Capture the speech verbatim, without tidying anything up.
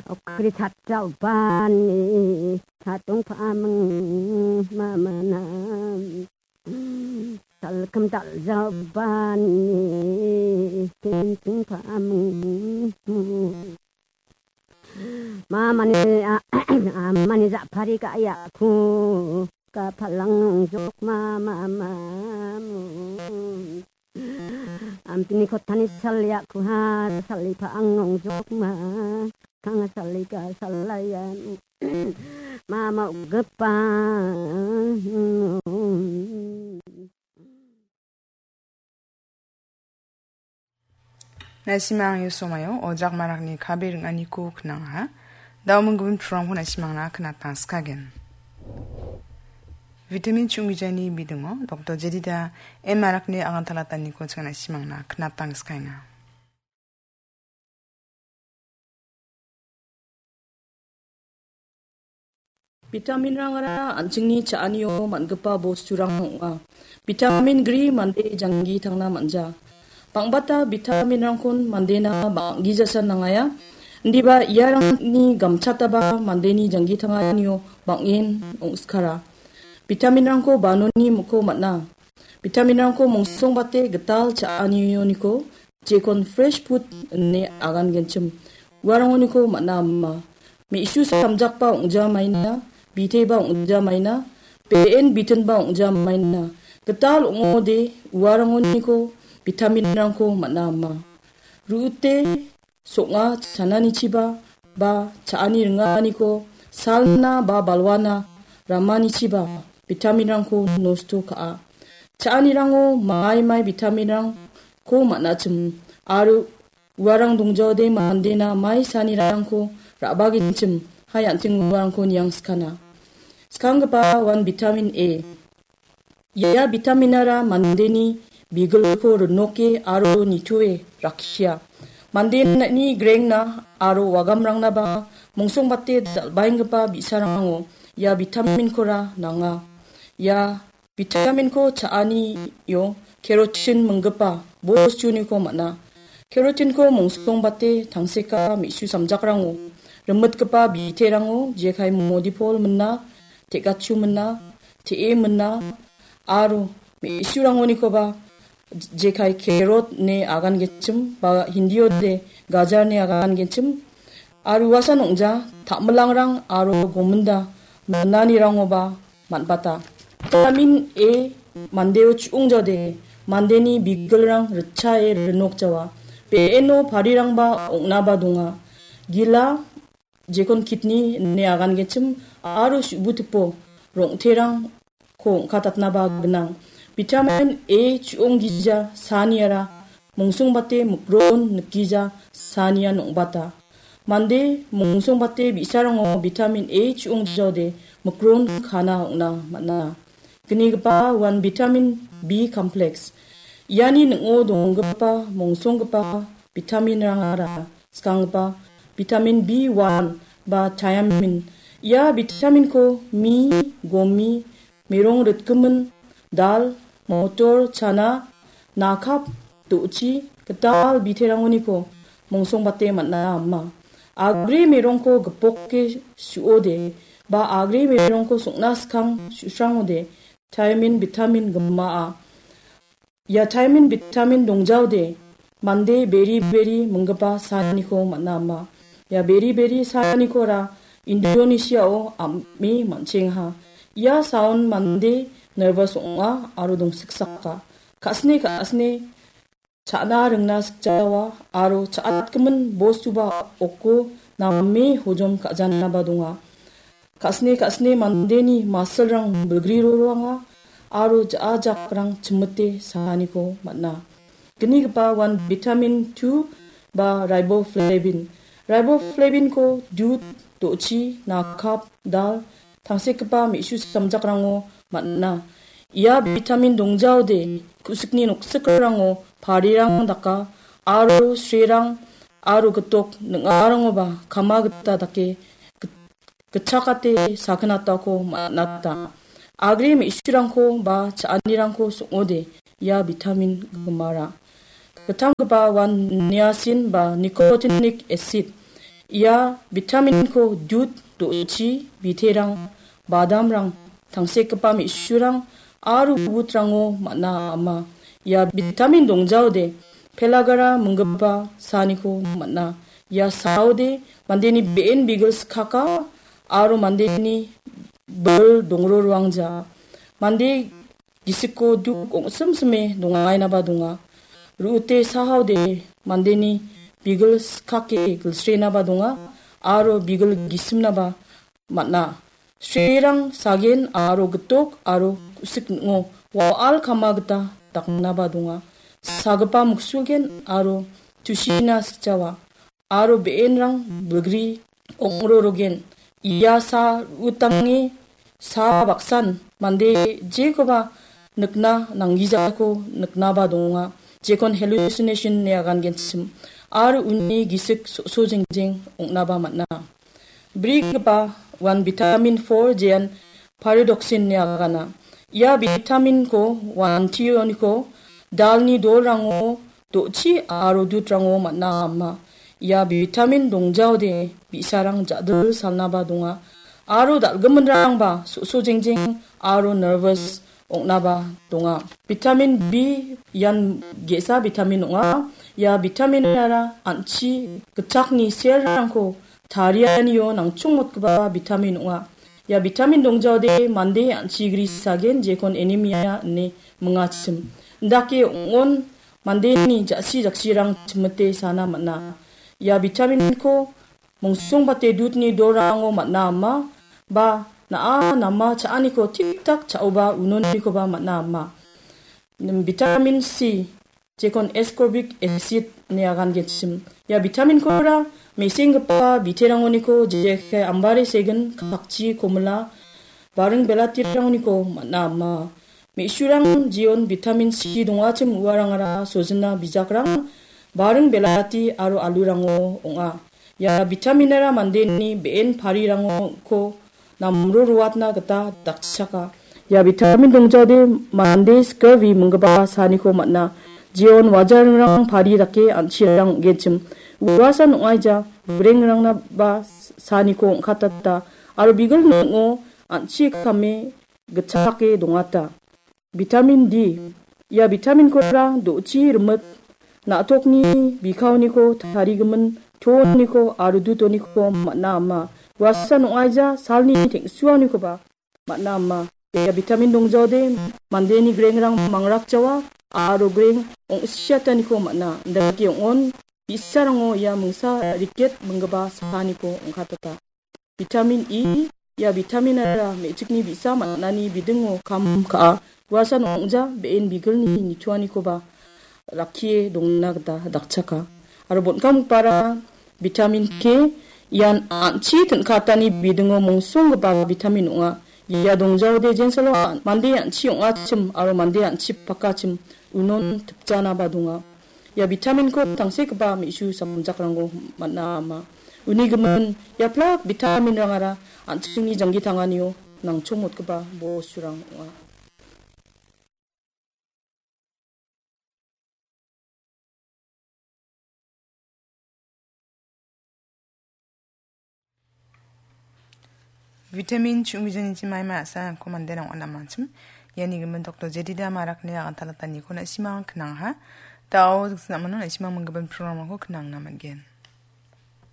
Okri chatjaobani chatongpaming mamana. Salkam taljaobani tengtengpaming. Mamani, a-, amani japari ka yaku ka palang nongjok ma, ma, ma, mu. Ampini kotani saliaku ha salipa ang nongjok ma. Kanga salika salaya. Mama ugepa. Nasimang yo somayo, ojak marakni kabe ringaniko knangaha. Dao minggimin purangko nasimangna knatang skagen. Vitamin chunggijani bidingo, Doktor Jedida M marakni agantalataniko chingana simangna knatang skainga. Vitaminrangara an·chingni cha·anio man·gipa bosturang ong·a. Vitamin gri mande janggi tangna man·ja. Bang·bata vitaminrangkon mandena bang·gijasa nangaia. Indiba iarangni gamchataba mandeni janggi tanganio bang·en ong·skara. Vitaminrangko banoni miko man·a. Vitaminrangko mongsongbate gital cha·anioniko jekon fresh food ine agangenchim. Uarangoniko man·a ama. Me·su samjakba ong·ja maina, biteba ong·ja maina, be·en bitinba ong·ja maina. Gital ong·ode uarangoniko vitaminrangko man·a ama. Ru·ute song·a chananichiba ba cha·ani ringaniko salna ba balwana ramanichiba vitaminrangko nosto ka·a. Cha·anirango mai mai vitaminrangko man·achim aro uarang dongjaode mandena mai sanirangko ra·bagenchim hai an·ting uarangko niangskana. Skanggipa uan vitamin A. Ia vitaminara mandeni bigilko rinoke aro nitoe rakkia. Mandeni grengna aro wagamrangnaba mongsongbate dal·baenggipa bi·sarango ia vitaminkora nanga. Ia vitaminko cha·anio kerotin minggipa bostuniko man·a. Kerotinko mongsongbate tangseka me·su samjakrango rimitgipa biterango jekai modipol mina, te·gachu mina, te·e mina, aro me·surangonikoba jekai kerot ine agangenchim ba Hindiode gajar ine agangenchim, aro uasan ong·ja ta·milangrang aro gominda minanirangoba man·bata. Vitamin A mandeo chu·ongjaode mandeni bigilrang ritchae rinokjawa. Be·eno parirangba ong·naba donga. Gila jekon kidney ine agangenchim aro su·butipo rong·terangko ong·katatnaba gnang. Vitamin A chu·onggija saniara mongsongbate mikron nikgija sanian ong·bata. Mande mongsongbate bi·sarango vitamin A chu·ongjaode mikron kana ong·na man·a. Gnigipa uan vitamin B complex. Iani ning·o donggipa mongsonggipa vitaminrangara skanggipa vitamin B one ba thiamin. Ia vitaminko mi, gomi, merong ritgimin, dal, motor, chana, nakap, do·chi, gital biterangoniko mongsongbate man·a ama. Agre merongko gipoke su·ode ba agre merongko song·na skang su·srangode thiamin vitamin gimaa. Ia thiamin vitamin dongjaode mande beri beri minggipa saaniko man·a ama. Ia beri beri saanikora Indonesiao am·e man·chengaha. Ia saon mande nervous ong·a aro dongsiksaka. Ka·sine ka·sine cha·na ringna sikjawa aro cha·atgimin bostuba oko name hojom ka·janaba donga. Ka·sine ka·sine mandeni masilrang bilgri roroanga aro ja·a jakrang chimite saaniko man·a. Gnigipa uan vitamin two ba riboflavin. Riboplavinko dud, do·chi, nakap, dal, tangsekgipa me·su samjakrango man·a. Ia vitamin dongjaode ku·sikni noksikrango parirang daka aro srirang aro gitok ning·arangoba kama gita dake git-, gitchakate sakinatako man·ata. Agre me·surangko ba cha·anirangko song·ode ia vitamin gimara. Gittamgipa uan niacin ba nicotinic acid. Ia vitaminko dud, do·chi, biterang, badamrang, tangsekgipa me·surang aro gubutrango man·a ama. Ia vitamin dongjaode pelagara minggipa saaniko man·a. Ia saode mandeni be·en bigil skaka aro mandeni bil dongro ruangja. Mande gisiko duk ong·simsime dongainaba donga. Ru·ute sahaode mandeni bigil skake gilsrenaba donga aro bigil gisimnaba man·a. Srirang sagen aro gitok aro ku·sik ning·o wa·al kama gita daknaba donga. Sagipa muksulgen aro tusina sikjawa. Aro be·enrang bilgri ong·rorogen. Ia sa ru·utange sa baksan mande jekoba nikna nanggijako niknaba donga. Jekon hallucination ine agangenchim. Aro uni gisik so·so jengjeng ong·naba man·a. Brigipa uan vitamin four jean pyridoxine ine agana. Ia vitaminko wantioniko dalni dolrango, do·chi aro dudrango man·a ama. Ia vitamin dongjaode bi·sarang ja·dil salnaba donga. Aro dal·giminrangba so·so jengjeng aro nervous ong·naba donga. Vitamin B ian ge·sa vitamin ong·a. Ia vitaminara an·chi gitchakni cell-rangko tarianio nangchongmotgipa vitamin ong·a. Ia vitamin dongjaode mande an·chi gri sagen jekon anemia ine mingachim. Indake ong·on mandeni ja·si jaksirang chimite sana man·a. Ia vitaminko mongsongbate dudni dorango man·a ama ba na·a nama cha·aniko tik-tak cha·oba unonikoba man·a ama. Vitamin C, jekon ascorbic acid ine agangenchim. Ia vitaminkora mesenggipa biterangoniko jekai ambare segin, kakchi, komila, baring belatirangoniko man·a ama. Me·surang jeon vitamin C dongachim uarangara sojina bijakrang, baring belati aro alurango ong·a. Ia vitaminara mandeni be·en parirangko namro roatna gita dakchaka. Ia vitamin dongjaode mande skirvi minggipa saaniko man·a. Jeon wajaringrang pari dake an·chirang ong·genchim. Uasan ong·aija brengrangna ba saaniko ong·katata aro bigil ning·o an·chi kame gitchake dongata. Vitamin D. Ia vitaminkora do·chi rimit, na·tokni bikaoniko tarigimin tooniko aro dutoniko man·a ama. Uasan ong·aija salni teng·suanikoba man·a ama. Ia vitamin dongjaode mandeni grengrang mangrakjawa aro greng ong·siataniko man·a. Indake ong·on bi·sarango ia mingsa riket minggipa saaniko ong·katata. Vitamin E, ia vitaminara me·chikni bi·sa man·ani bidingo kam ka·a. Uasan ong·ja be·en bigilni nitoanikoba rakkie dongna gita dakchaka. Aro bon·kamgipara vitamin K, ian an·chi tin·katani bidingo mongsonggipa vitamin ong·a. Ia dongjaode jensalo an-, mande an·chi ong·achim aro mande an·chi pakachim unon tipjanaba donga. Ia vitaminko tangsekgipa me·su samjakrango man·a ama. Uni gimin, ia plak vitaminrangara an·chingni janggi tanganio nangchongmotgipa bosturang ong·a. Vitamin ching·bijanichi maima a·sako manderang on·amanchim. Iani gimin Doktor Jedida Marakni agantalataniko na·simang knangha. Da·o dingsa namano na·simang minggimin programrangko knangna man·gen.